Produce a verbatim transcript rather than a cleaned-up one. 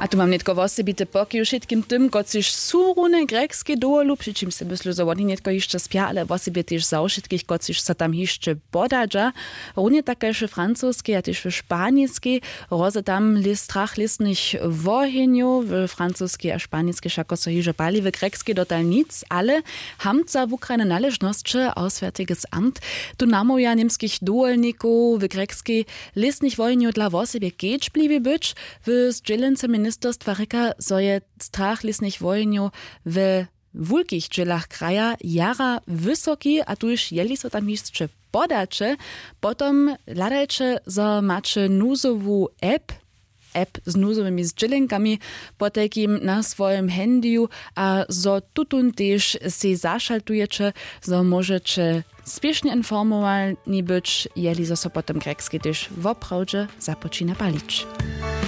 A tu mam nětko wosebity pokiw wšitkim tym, kotřiž su runje w grjekskej dowolu, při čimž se myslu, zo woni nětko hišće spja, ale wosebje tež za wšitkich, kotřiž so tam hišće podadźa. Runje tak kaž w francoskej a tež w španiskej. Roze tam lěs strach lěsnych wohenjow, w francoskej a španiskej wšako so hižo pali, w grjekskej dotal nic, ale hamtca wukrajne naležnosće, auswärtiges Amt, tu namołwja němskich dowolnikow w grjekskej lěsnych wohenjow dla wosebje kedźbliwi być. W zdźělence ministerstwa rěka, zo je strach lěsnych wohenjow we wulkich dźělach kraja jara wysoki, a tuž jeli so tam hišće podaće, potom hladajće, zo maće nuzowu app, app z nuzowymi zdźělenkami, potajkim na swojim handyju, a zo tutón tež sej zašaltujeće, zo móžeće spěšnje informowani być, jeli zo so potom grjekskej tež woprawdźe započina palić.